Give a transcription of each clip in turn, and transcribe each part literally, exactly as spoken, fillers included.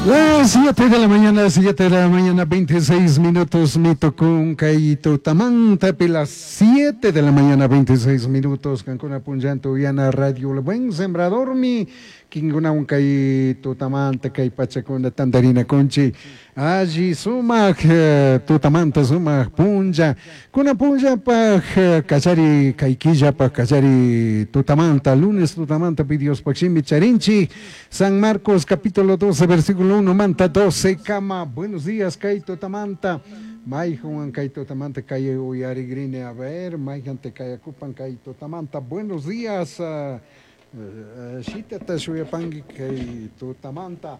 Las siete de la mañana, siete de la mañana, veintiséis minutos, mi tocó kay tutamanta, las siete de la mañana, veintiséis minutos, Cancuna Punllanto, Yana Radio, El Buen Sembrador, mi Kinguna un kay tutamanta, kay pachakuna, tandarina conchi, alli sumak, tutamanta sumak punlla, kuna punlla paj, kallari kay killa paj, kallari tutamanta, lunes tutamanta, pidios paximi charinchi, San Marcos capítulo doce, versículo uno, manta doce, cama, buenos días, kay tutamanta, Mayjuan kay tutamanta, kay uyarigrine, a ver, mayjan te kayakupan kay tutamanta, buenos días, uh, uh, shitata shuyapangi kay tutamanta.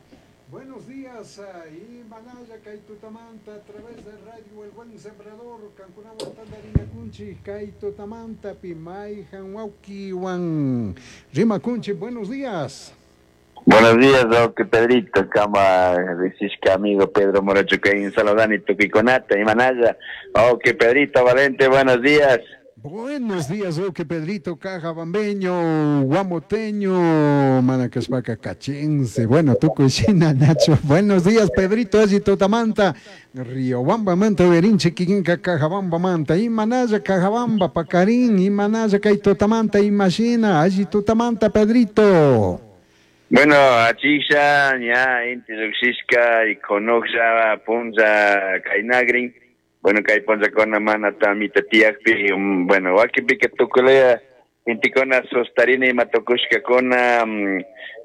Buenos días, uh, y manaya kay tutamanta a través de Radio El Buen Sembrador, Cancunawan tandarina kunchi, kay tutamanta, pi mayjan wauki wan rima kunchi, buenos días. Buenos días, Roque Pedrito, cama, decís amigo Pedro Morocho, que en Saludani, Tuquiconata, y Manaya. Oque Pedrito Valente, buenos días. Buenos días, Roque Pedrito, Caja Bambeño, Guamoteño, Manacaspaca, Cachense, bueno, Tucuchina, Nacho. Buenos días, Pedrito, allí Totamanta, Río Bamba, Manta, Berinche, Quiquinca, Cajabamba, Manta, y Manaya, Cajabamba, Pacarín, y Manaya, Cay Totamanta, y Machina, allí Totamanta, Pedrito. Bueno, achisha, ya, inti lluqshishka y conoxha, punza, kainagrin. Bueno, kay punza con mana tamita tiyakpi, bueno, wakinpika tukulaya intikuna sustarina ima tukushkakuna,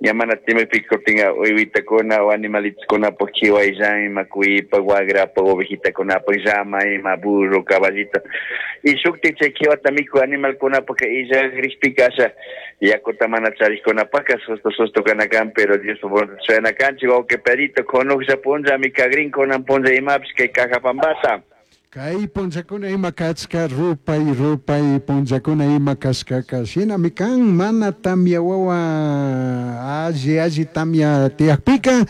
ña mana timikpi kutin uywitacuna o animalitoskunapuk kiwayllan ima cuypa, wagrapa, ovejitakunapuk llama, ima burro, caballito. Y shukti chay kiwata miku animalkunapuk illagrikpika asha yakuta mana charikkunapaka susto susto kanakan, pero Dios suena kanchik, wawqi Pedrito, conoxha punlla mikagrin kunan punlla imapish kay Cajabambata. Kay punllakuna ima kachka rupay rupay punllakuna ima kashkaka shinami kan mana tamya wawa alli alli tamya tiyakpika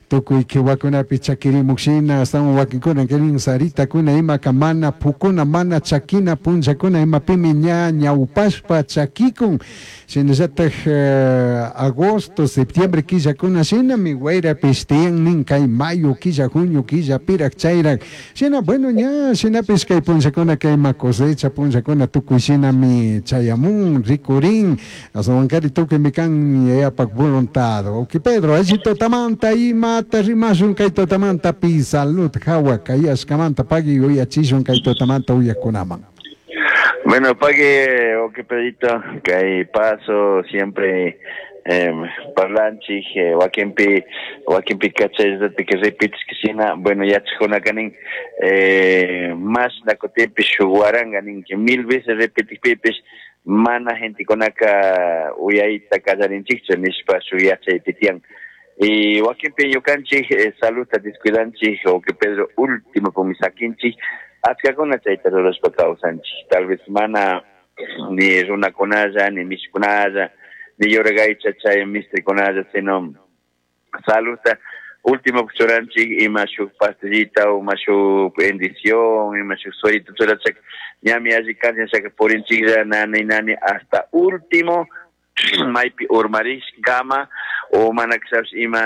tukuy kiwakunapi chakirimuk shina astawan wakinkuna kirin saritakuna imaka mana pukuna mana chakina punllakuna imapimi ña ñawpashpa chakikun shinallataj eh, agosto septiembre killakuna shinami wayrapish tiyan nin kay mayo killa junio killa pirak chayrak shina bueno ña shinapish kay punllakuna kay ima cosecha punllakuna tukuy shinami chayamun rikurin aswankari tukuymi kan yayapak voluntad. Ok Pedro, allí totamanta ima rimashun kay totamanta pi salud hawa kayashkamanta pagui uyachishun kay totamanta uyakunaman. Bueno, pague, ok Pedrito, kay paso siempre eh, parlanchik, eh, wakinpi, wakinpi kachay que repites que sina, bueno, ya kanin, eh, más nakotipi shuwaranga nin, que mil veces repitis pipis, mana gente konaka uyayta kallarinchikchu nishpa shuyachay titian. Y wakinpi ñukanchik eh, saluta descuidanchik, o que Pedro último pumisakinchik, achkakuna chayta rurashpa kawsanchik, tal vez mana ni runakunalla, ni mishikunalla, ni yoragaycha chay mistrikunalla, sino saluta último churanchik ima shuk pastillita o ima shuk bendición, ima shuk suerito churachak, ñami alli kancha shaka purinchiklla nani nani hasta último maypi urmarishkama o mana kishapish ima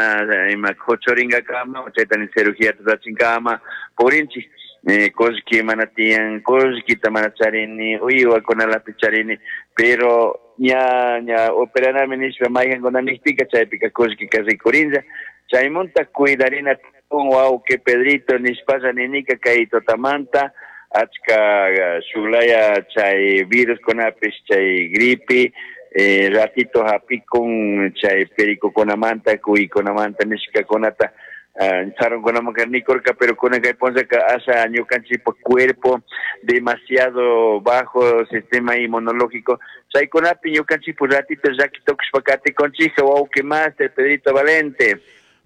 ima kuchuringakama o chaytani cirugía rurachinkama purinchik eh, kullki mana tiyan, kullkita mana charini, uywakunalapi charini, pero ña ña operanami nishpa maykankuna nikpika chaypika kullkika rikurinlla, chaymunta cuidarina tukun wawqi Pedrito nishpalla ninika kay tutamanta achka shuklaya chay viruskunapish chay gripe eh, ratito hapikun chay pericokunamanta cuykunamanta nishkakunata uh, sarunkunamanka nikurka, pero kunan kay punllaka asha ñukanchikpa cuerpo demasiado bajo sistema inmunológico chaykunapi ñukanchikpa ratito llaki tukushpa katikunchik wawqi master Pedrito Valente.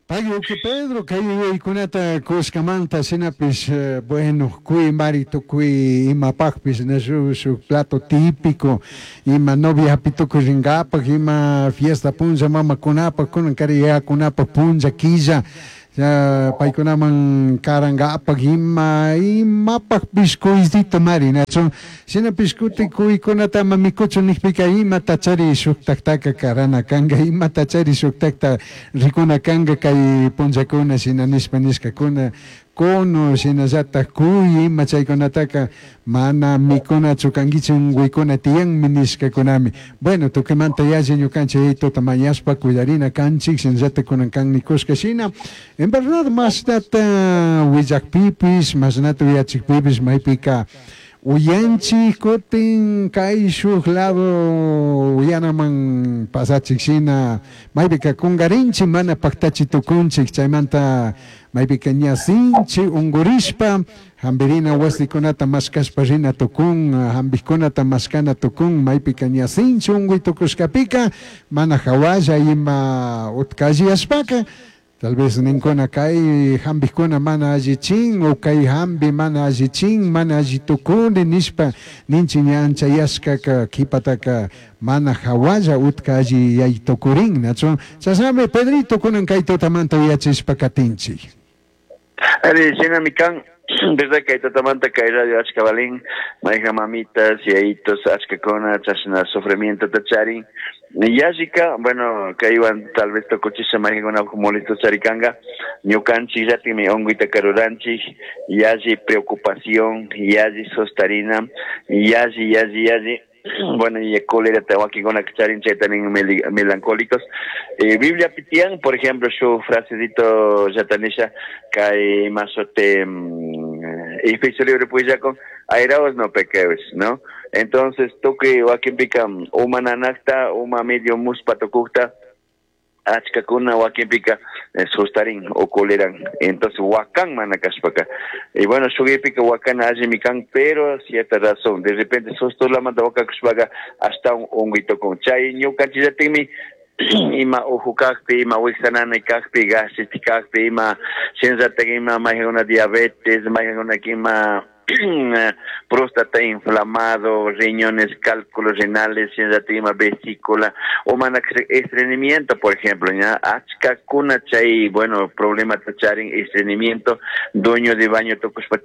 Pagui que Pedro, kay yuyaykunata kushkamanta shinapish eh, bueno, kuy mari tukuy imapakpish na shuk shuk plato típico, ima novia hapi tukuy rinkapak, ima fiesta punlla mamakunapak, kunan kari yayakunapak punlla killa, Ya paykunaman karankapak ima imapak pishkuytito mari nachu shinapish kutin kuykunata ama mikuchun nikpika imata chari shuktaktaka karana kanka, imata chari shuktakta rikuna kanka kay punllakuna shina nishpa nishkakuna cono shinallatak kuy ima chaykunataka mana mikunachu kankichik unkuykuna tiyanmi nishkakunami. Bueno, tukuymanta yalli ñukanchik yayituta mañashpa cuidarina kanchik shinallatak kunan kan nikushka shina en verdad mashnata willakpipish mashnata uyachikpipish maypika uyanchik kutin kayshuk lado uyanaman pasachik shina maypika kungarinchik mana paktachi tukunchik chaymanta maypika ña sinchi ungurishpa hambirina wasikunata mashkashpa rina tukun, hambikkunata mashkana tukun maypika ña sinchi unguy tukushkapika mana hawalla ima utkalliyashpaka tal vez ninkuna kay hambikuna mana allichin o kay hambi mana allichin mana alli tukuni nishpa ninchik ña anchayashkaka kipataka mana hawalla utka alli yay tukurin nachu chashnami Pedrito kunan kay tutamanta uyachishpa katinchik. Ari, shinami kan, verdad kay tutamanta kay radio achka balin, mayja mamitas, yayitos, achkakuna, chashna sufrimiento charin. Yallika, bueno, kaywan tal vez tukuchisha mayjakuna molesto charikanga, ñukanchik llatikmi unquyta karuranchik, yalli preocupación, yalli sostarina, yalli, yalli, yalli, bueno, y cólera wakinkuna charin chayta nin melancólicos. Eh, Biblia pitian, por ejemplo, su frasecito yatanisha, kay masote Efesios libro con airaos no pequeos, ¿no? Entonces, tukuy wakinpika uma nanakta, uma medio muspa tukukta, achkakuna wakinpika sustarin o coleran, entonces wakan mana kashpaka. Y bueno, shugipika wakana allimi kan, pero cierta razón, de repente sustolamanta wakakushpaka hasta un honguito con chay ñukanchillatikmi ima uju kakpi, ima wiksananay kakpi, gastritis kakpi, ima shinllatak ima mayjakuna diabetes, mayjakuna ima próstata inflamado, riñones, cálculos renales, ima vesícula, o mana estreñimiento, por ejemplo, ya achkakuna chay, bueno, problema charin estreñimiento, dueño de baño tukushpa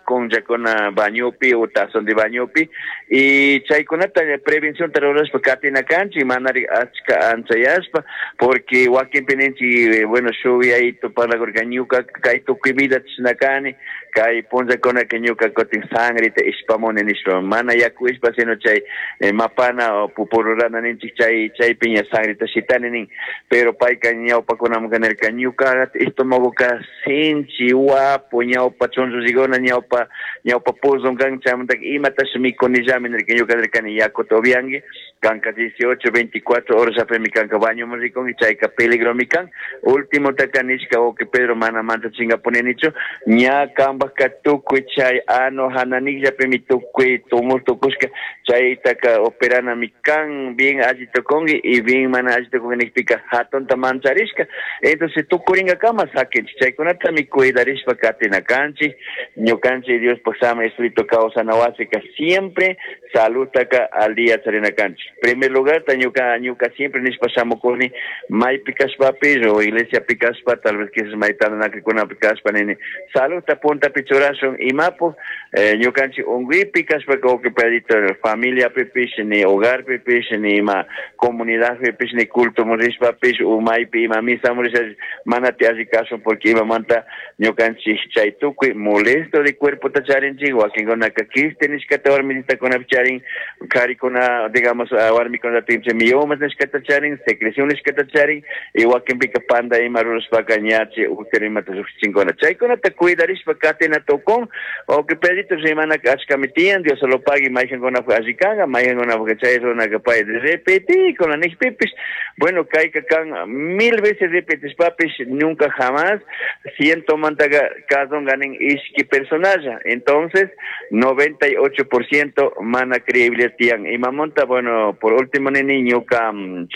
con yakuna bañopi o tazón de bañopi, y chaykunata prevención rurashpa katina kanchik, manari achka anchayashpa, porque wakinpi ninchik, bueno, shuk yayito parlakurka ñuka kay tukuy vida chishnakani, kay punllakuna que ñuka kutin sangreta ishpamuni nishpa, mana yaku ishpa sino chay eh, mapana o pupururana ninchik chay chaypi ña sangreta shitani nin, pero payka ñawpakunamanka nirka ñuka estomagoka sinchi wapu ñawpa chunllushikuna ñawpa ñawpa puzon kan chaymantaka imatash mikunillami nirka ñuka nirkani yakuta upianki kanka dieciocho, veinticuatro horas apemi kanka bañoman rikunki chayka peligromi kan. Último taka nishka o que Pedro mana manchachinkapuninichu ña kanpajka tukuy chay ano hananillapimi tukuy tumor tukushka chaytaka operanami kan bien alli tukunki y bien mana alli tukunki nikpika hatunta mancharishka. Entonces tukuringakama sakinchik chaykunatami cuidarishpa katina kanchik ñukanchik Diospaj sama Espíritu kawsana wasika siempre saludtaka al día charina kanchik. Primer lugar, ñuka ñuka siempre nishpa shamukuni maypi kashpapish o iglesiapi kashpa tal vez quizás maytantanakunapi kashpa nini saludta puntapi churashun imapu eh, ñukanchik unguipi kashpa que pedito familiapipish ni hogarpipish ni ima comunidadpipish ni culto rishpapish o maypi ima misa risha mana ti alli kashun porque imamanta ñukanchik chay tukuy molesto de cuerpo ta charinchik wakinkunaka quiste nishkata warmititakunapi charin karikuna digamos warmikuna tinchik miomas nishkata charin secreción nishkata charin y wakinpika panda ima rurashpaka ñachi útero imata llukshichinkuna chaykunata cuidarishpa katina tukun o que pedito rimanaka achkami tiyan Dios lo pague mayjankunapaj alli kanka mayjankunapaj chay runaka pay repetikuna nikpipish bueno kayka kan mil veces repetishpapish nunca jamás ciento mantaka kasunka nin ishki personalla entonces noventa y ocho por ciento mana creíble tiyan imamonta bueno por último nini ñuka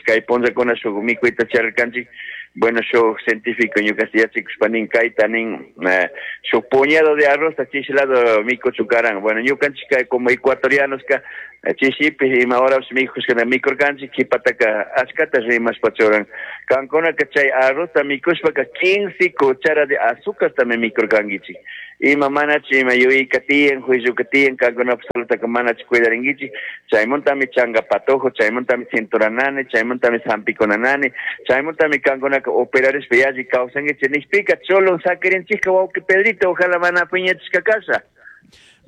kay punllakuna shuk mikuyta charirkanchik bueno shuk científico ñuka yachikushpa nin kayta nin eh, shuk puñado de arroz chishlado mikuchukaran bueno ñukanchik kay como ecuatorianos ka Chishipi ima horas mikushkana mikurkanchik qhipataka achkata rimashpa churan. Kankunaka chay arrozta mikushpaka quince cuchara de azúcartami mikurkankichik. Ima manachu ima yuyayka tiyan, juiciuka tiyan, kankunapaq saludtaka manachu cuidarinkichik. Chaymuntami changa patojo, chaymuntami cintura nani, chaymuntami hampikuna nani, chaymuntami kankunaka operarishpa yalli kawsankichik nishpika chulun sakirinchikka wawqi Pedrito, ojalá mana piñachishka kasha.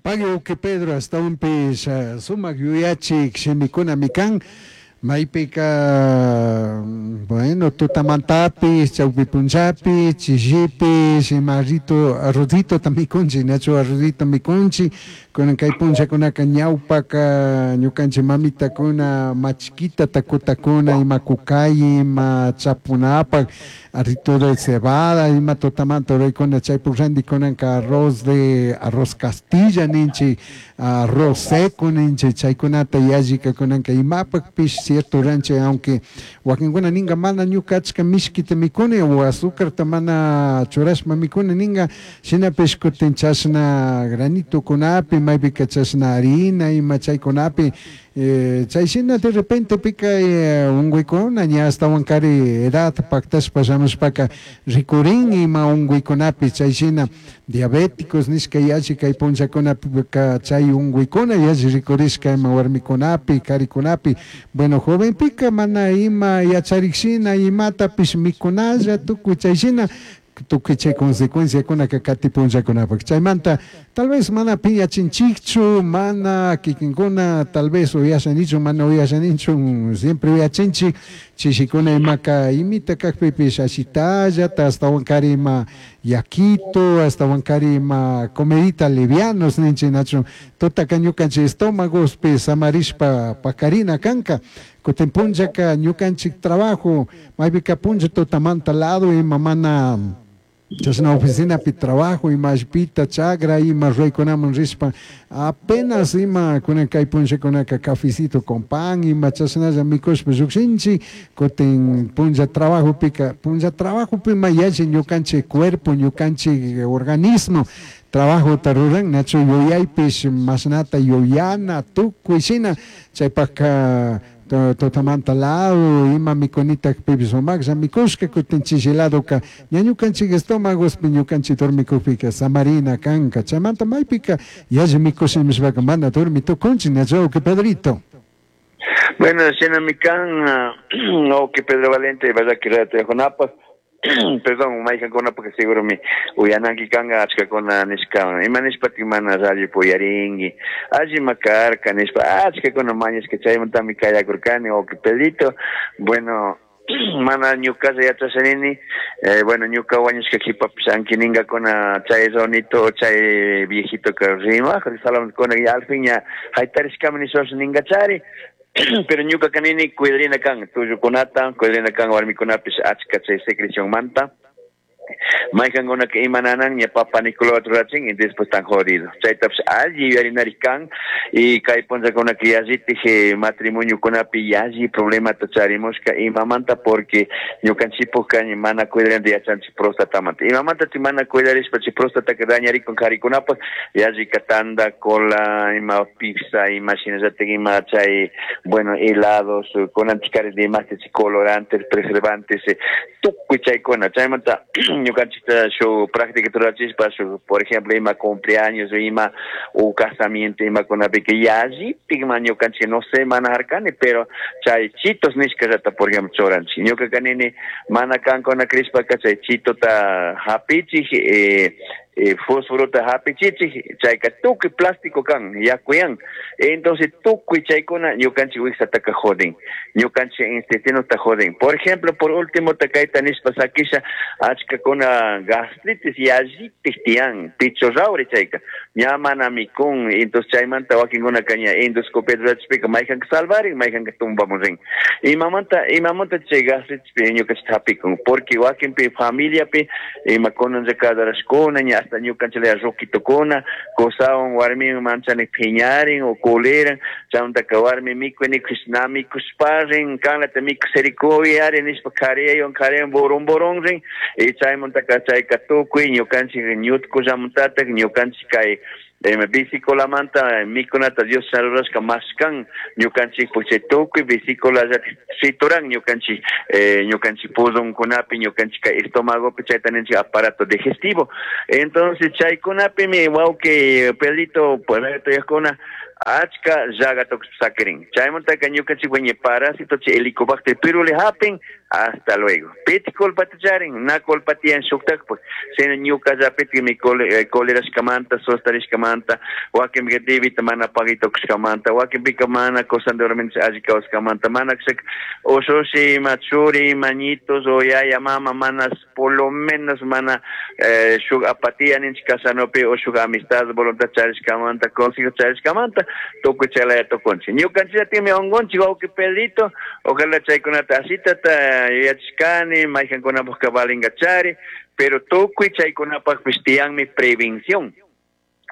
Pagui wawqi Pedro, ashtawanpish sumak yuyachik shimikunami kan. Maypika, bueno, tutamantapish, chawpi punllapi, chishipish, ima arrito, arrocitota mikunchik, nachu arrocito mikunchik, kunan kay punllakunaka ñawpaka ñukanchik mamitakuna machkita takutakuna, ima kukay, ima chapunapak, arrito de cebada, ima tutamanta ruraykuna, chaypuk ranti kunanka arroz de, arroz castilla ninchik, arroz seco ninchik, chaykunata yallika kunanka imapakpish cierto ranchik, aunque wakinkuna ninga mana ñuka achka mishkita mikuni o azucarta mana churashpa mikuni ninga, shinapish kutin chashna granitukunapi, maypika chashna harina ima chaykunapi, eh, chay shina de repente pika eh, unguykuna ña ashtawankari edad paktashpa shamushpaka rikurin ima unguikunapi, chay shina diabéticos nishka yalli kay punllakunapika chay unguykuna yalli rikurishka ima warmikunapi, karikunapi. Bueno, jovenpika mana ima yacharik shina imatapish mikunalla tukuy chay shina tukuy chay consecuenciakunaka kati punllakunapak. Chaymanta tal vez mana piñachinchikchu, mana kikinkuna tal vez uyashanichu, mana uyashanichu, siempre uyachinchik chishikuna imaka imita kakpipish ashitallata, ashtawankari ima yakito, ashtawankari ima comidita livianos ninchik nachu, tutaka ñukanchik estómagospi samarishpa pakarina kanka. Kutin punllaka ñukanchik trabajo, maypika punlla tutamanta lado ima mana chashna oficinapi trabajo ima allpita chagra ima ruraykunaman rishpa apenas ima kunan kay punllakunaka cafecito con pan ima chashnalla mikushpa llukshinchik, kutin punlla trabajopika, punlla trabajopi ma yalli ñukanchik cuerpo, ñukanchik organismo trabajota ruran, nachu yuyaypish mashnata yuyana tukuy shina, chaypaka tutamanta lado ima mikunitakpipish sumaklla mikushka, kutin chishi ladoka ña ñukanchik estómagospi ñukanchik dormikukpika samarina kanka, chaymanta maypika yalli mikush nishpaka mana dormi tukunchik, nachu wawqi Pedrito. Bueno, shinami kan, wawqi Pedro Valente, verdad que ratiajunapak, perdón, mayqankunapak seguro mi uyananki kanka achkakuna nishka, ima nishpatik mana radio uyarinki, allima karka nishpa achkakuna mañashka chaymantami kayakurkani wawqi Pedrito. Bueno, mana ñukalla yachashanini, eh, bueno, ñuka wañushka qhipapish ankiningakuna chay ronito, chay viejito que rimaq, salamkuna y al fin ña haytarishkami nishwash ningachari. Pero ñuka kanini cuidarina kan tullukunata, cuidarina kan warmikunapish achka chay secrecionmanta. Mayqankunaka imananan ña papa Nicolau rurachin y después tan jodido. Chaytapish alli yuyarinari kan y kay punllakunaka yallitik matrimoniokunapi yalli problemata charimushka imamanta porque ñukanchikpukka mana cuidarina yachanchik prostatamanta. Imamanta chi mana cuidarishpa chay prostataka dañarikun karikunapak yallika tanda, cola, ima pizza, ima shinallatik ima chay, bueno, helados, kunanchikari demás colorantes, preservantes, tukuy chaykuna. Chaymanta ñukanchikta shu práctica rurachishpa shu, por ejemplo, ima cumpleaños, ima o casamiento, ima kunapika yallitik ma ñukanchik no sé manejar pero chay chitos nishkallata, por ejemplo, churanchik. Ñuka kanini mana kankuna krishpaka chay chitota hapichik, eh, eh, fósforota hapichichik, chayka tukuy plástico kan, yakuyan. Entonces tukuy chaykuna ñukanchik wiksataka jodin, ñukanchik intestinota jodin. Por ejemplo, por último, takayta nishpa sakisha achkakuna gastritis yallitik tiyan, picho rawri chayka, ña mana mikun, entonces chaymanta wakinkunaka ña endoscopia rurachishpika mayqanka salvarin, mayqanka tumbamun rin. Imamanta, imamanta chay gastritispi ñukanchik hapikun, porque wakinpi familiapi ima kunanlla kadarashkuna, ña hasta ñukanchik ruquitokuna, kusawan warmiwan manchani phiñarin o kuliran, chaymantaka warmi mikuy nikush na mikushparin, kanlata mikusirikuyari nishpa kariyaywan kariyawan burun burun rin, y chaymantaka chayka tukuy ñukanchik ñutkullamantatak ñukanchik kay Vesículamanta mikunata Dios rurashka maskan ñukanchikpuk chay tukuy vesícula trituran ñukanchik ñukanchik pulmonkunapi ñukanchik estómagopi chayta ninchik aparato digestivo. Entonces chaykunapimi wawqi Pedrito yakuna achka llaga sakirin. Chaymantaka ñukanchik wañi parásito chay helicobacter pylori hapin hasta luego. Piti culpata charin, na culpa tiyan shuktakpak. Sino ñukallapitikmi colerashkamanta, sostarishkamanta, wakinpika debita mana pagitukushkamanta, wakinpika mana cosandormente alli kawskamanta, mana ushushi, ima churi, ima ñitos o yaya mama mana por lo menos mana eh, shuk apatía ninchik kasanopi o shuk amistad voluntad charishkamanta, consejo charishkamanta, tukuy chaylaya tukunchik. Ñukanchikllatikmi unkunchik wawqi Pedrito, ojalá chaykunata asitata yuyachishkani, mayqankunapukka valingachari, pero tukuy chaykunapaqpis tiyanmi prevención.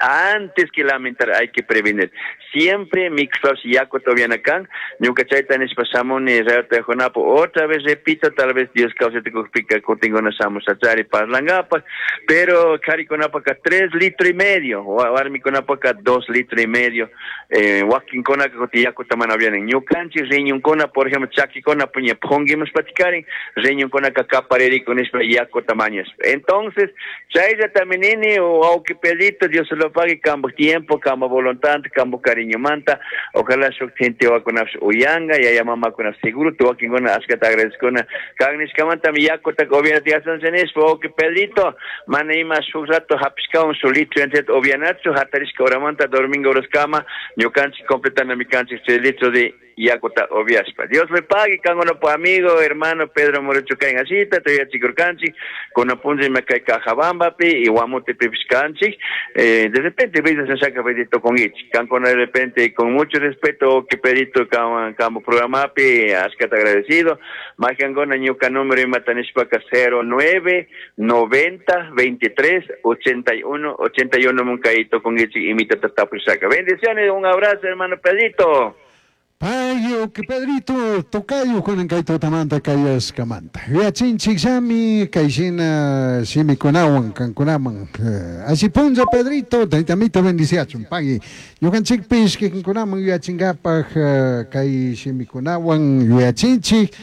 Antes que lamentar hay que prevenir. Siempre mixos yaku todavía kan, ñuka chayta nishpa shamuni rayota junapo. Otra vez repito, tal vez Dios causa te pika kutingona shamushachari parlangapa, pero karikunapaka tres litros y medio, warmikunapaka dos litros y medio, eh, wakinkunaka kuti yakuta mana vienen. Ñukanchik riñonkuna, por ejemplo, chakikuna puña ponguimos patikarin, riñonkunaka kapaririku nishpa yakuta mañashpa. Entonces, chaylla también nini o auki Pedrito, Dios se lo pague, cambo tiempo, cambo voluntad, cambo cariño manta, ojalá shuk gente wakunapish uyanga, yaya mamakunapish seguro, tu wakinkuna ashkata agradezcuna, kangnishkamanta mi yakuta gobierno tiyasancha nishpa, wawqi Pedrito, mana ima shuk rato hapishkawan shuk litro yanchata upianachu, hatarishka horamanta, domingo horaskama, ñukanchik completando kanchik chay litro de yakuta upiashpa. Dios le pague, kankunapu amigo, hermano Pedro Morecho kain asita, tuyachikurkanchik, kunapunlla ima kay Cajabambapi y Guamotepipish kanchik, eh, de repente veces saca Pedrito con ich, kankuna de repente con mucho respeto que Pedrito campo programapi, ashkata agradecido, majangona ñuka número imatanishpaka cero nueve noventa veintitrés ochenta y uno ochenta y uno munkaito con ich imita tatapusaka. Bendiciones, un abrazo hermano Pedrito. Payo, que Pedrito, tocayo con encaito tamanta kayas kamanta. Yachinchik shami, kayshina shimikunawan, kankunaman. Así punza Pedrito, taitamito bendiciachun, pagui. Ñukanchikpish kikinkunaman yachingapaj kay shimikunawan yachinchik,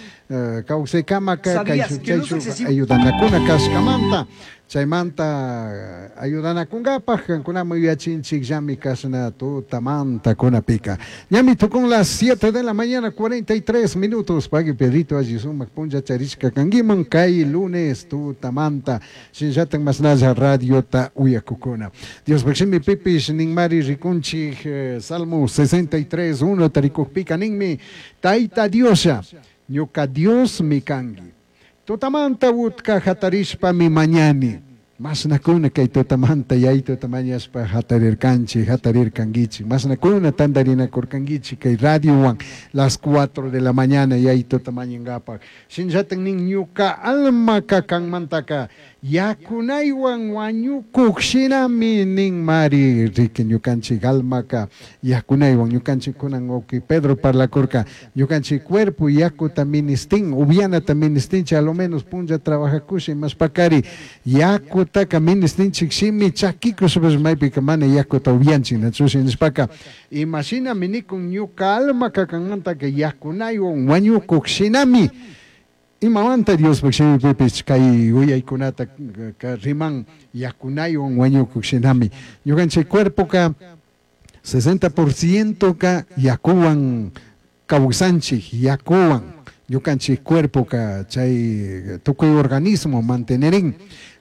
kawsaykamaka kay shuk ayudanakuna kashkamanta. Chaymanta ayudanakungapaj kankunaman yachinchik llami kasna tutamanta kunapika. Ñami tukun las siete de la mañana cuarenta y tres minutos. Pagui Pedrito alli sumak punlla charishka kanguiman kay lunes tutamanta. Shinllatan masnalla radiota uyakukuna. Dios bakshimi pipish ninmari rikunchik eh, Salmo sesenta y tres uno tarikukpika ninmi Taita Diosha ñuka Dios mi kangi. Tutamanta utka hatarishpa mi mañani. Masnakuna kay tutamanta yay tutamañashpa hatarirkanchi, hatarirkanguichi. Masnakuna tandarinakurkanguichi kay radiowan las cuatro de la mañana yay tutamañangapaq. Shinllatan nin ñuka almaka kanmantaka yakunaywan wañukuk shinami nin mari riki ñukanchik almaka yakunaywan ñukanchik kunan wawqi Pedro parlakurka ñukanchik cuerpo yakuta ministin upianata ministinchik a lo menos punlla trabajakusha imashpakari yakutaka ministinchik shimi chakikushpash maypika mana yakuta upianchik nachushi nishpaka imashinami nikun ñuka almaka kanmantaka yakunaywan wañukuk shinami. Imamanta Diospaj shimipipis kay uyaykunata riman yakunaywan wañukuk shinami. Ñukanchik cuerpoka sesenta por ciento ka yakuwan kawsanchik, yakuwan ñukanchik cuerpoka chay tukuy organismo mantenerin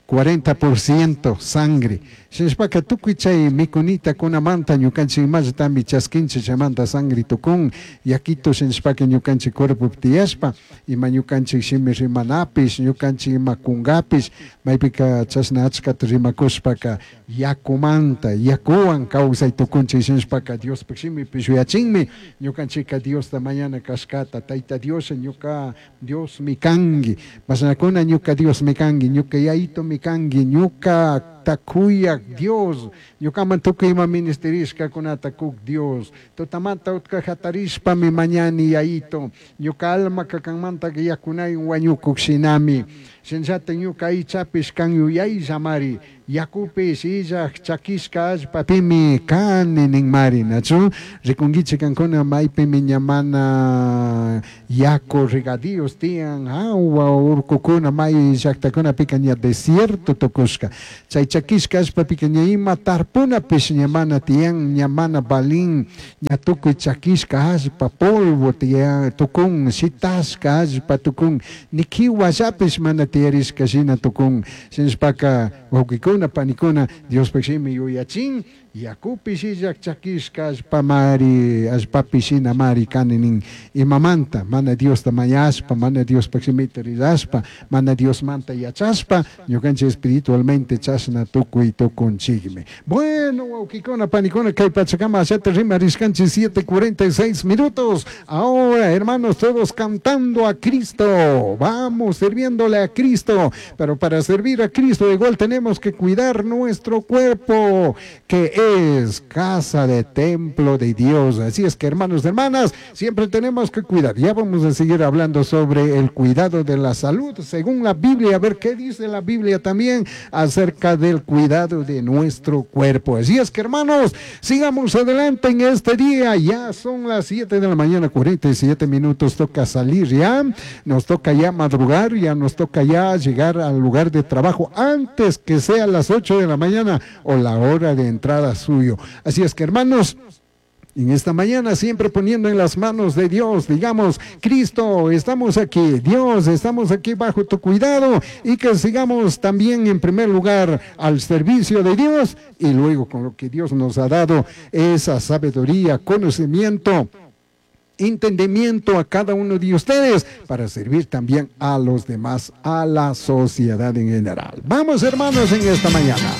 cuarenta por ciento sangre. Shinashpaka tukuy chay mikunita kunamanta ñukanchik imallatami chaskinchik chaymanta sangre tukun yakito shinashpaka ñukanchik cuerpo tiyashpa ima ñukanchik shimi rimanapish ñukanchik ima kungapish maypika chashna achkata rimakushpaka yakumanta yakuwan kawsay tukunchik shinashpaka Diospaj shimipish yuyachinmi ñukanchikka Diosta mañana kashkata Tayta Dios ñuka Dios mi kanki mashnakuna ñuka Dios mi kanki ñuka yayito mi kanki ñuka takuyak Dios ñukaman tukuy ima ministerishkakunata kuk Dios tutamanta utka hatarishpa mi mañani yayito ñuka almaka kanmanta yakunaywan wañukuk shinami Shinallata ñuka aychapish kan yuyaillamari, yakupish illaj chakishka allpapimi kani ninmari, nachu? Rikunkichik kankuna maypimi ña mana yaku regadíos tiyan, hawa urkukuna may llaktakunapika ña desierto tukushka. Chay chakishka allpapika ña ima tarpunapish ña mana tiyan, ña mana valin, ña tukuy chakishka allpa polvo tiyan tukun, shitashka allpa tukun, ni kiwallapish mana tiyarishka shina tukun. Shinashpaka wawkikuna panikuna Diospaj shimi yuyachin, yakupish illaj chakishka allpamari, allpapi shinamari kani nin. Imamanta mana Diosta mañashpa, mana Diospaj shimita rirashpa, mana Diosmanta yachashpa, ñukanchik espiritualmente chashna tukuy tukunchikmi. Bueno, wawkikuna panikuna, kay pachakama ashata rimarishkanchik siete cuarenta y seis minutos. Ahora, hermanos, todos cantando a Cristo. Vamos sirviéndole a Cristo. Pero para servir a Cristo igual tenemos que cuidar nuestro cuerpo, que es casa de templo de Dios. Así es que, hermanos, hermanas, siempre tenemos que cuidar. Ya vamos a seguir hablando sobre el cuidado de la salud según la Biblia, a ver qué dice la Biblia también acerca del cuidado de nuestro cuerpo. Así es que, hermanos, sigamos adelante en este día. Ya son las siete de la mañana, cuarenta y siete minutos. Toca salir ya, nos toca ya madrugar, ya nos toca ya llegar al lugar de trabajo antes que sea las ocho de la mañana o la hora de entrada suyo. Así es que, hermanos, en esta mañana siempre poniendo en las manos de Dios, digamos, Cristo, estamos aquí, Dios, estamos aquí bajo tu cuidado, y que sigamos también en primer lugar al servicio de Dios, y luego con lo que Dios nos ha dado, esa sabiduría, conocimiento, entendimiento a cada uno de ustedes para servir también a los demás, a la sociedad en general. Vamos, hermanos, en esta mañana.